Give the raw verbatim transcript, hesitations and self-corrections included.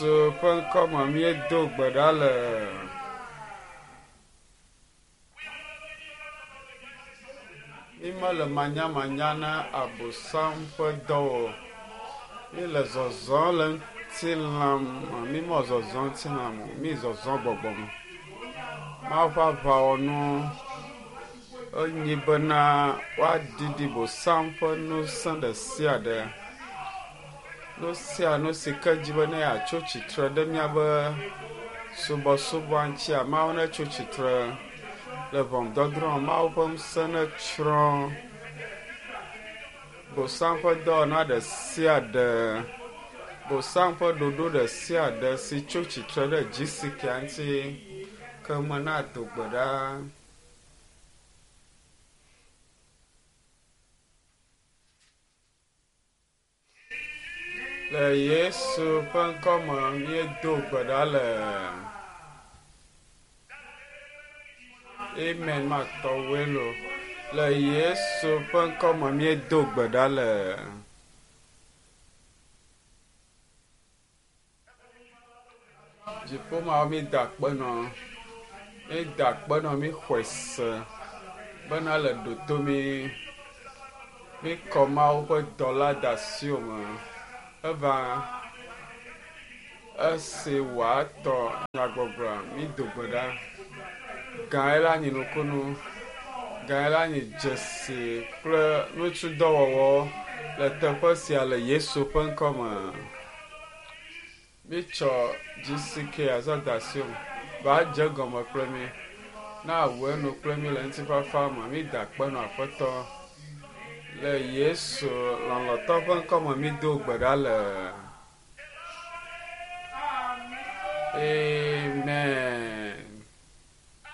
Yesu ƒe ŋkɔme míedo gbe ɖa le. Mímele manyamanya na abosam ƒe dɔ o. Míele zɔzɔm le ŋutilã me. Mímɔ zɔzɔm ŋutilã me o. Mí zɔzɔm gbɔgbɔ me. Mawu ƒe aʋawɔnu enyi bena woaɖiɖi bosam ƒe ŋusẽ ɖe sia ɖe. Nu sia nu si ke dzi be ne yeatso tsitre ɖe míaƒe subɔsubɔa ŋutia, Mawu netso tsitre le ʋɔnudɔdrɔ̃. Mawu ƒe ŋusẽ netsrɔ̃ bosam ƒe dɔwɔna ɖe sia ɖe. Bosam ƒe ɖoɖo ɖe sia ɖe si tso tsitre ɖe dzisikia ŋuti ke me nado gbe ɖa. Le Yesu ƒe ŋkɔme míedo gbe ɖa le. Amen matɔwoe lo. Le Yesu ƒe ŋkɔme míedo gbe ɖa le. Dziƒomawo míeda akpe nɔ. Míeda akpe nɔ míxɔe se bena le ɖoto mí. Míkɔ Mawu ƒe dɔla de asiwò me. Eva esi wòatɔ nyagbɔgblɔa, mído gbe ɖa. Gãe la nyi nukunu, gãe la nyi dzesi kple ŋutudɔwɔwɔ le teƒe sia le Yesu ƒe ŋkɔme. Mítsɔ GCK azɔ de asiwò me. Va dze egɔme kple mí. Na wòe nu kple mí le ŋutifafa me. Mída akpe nɔ Aƒetɔ. Le Yesu lɔlɔ̃tɔ ƒe ŋkɔme mído gbe ɖa le.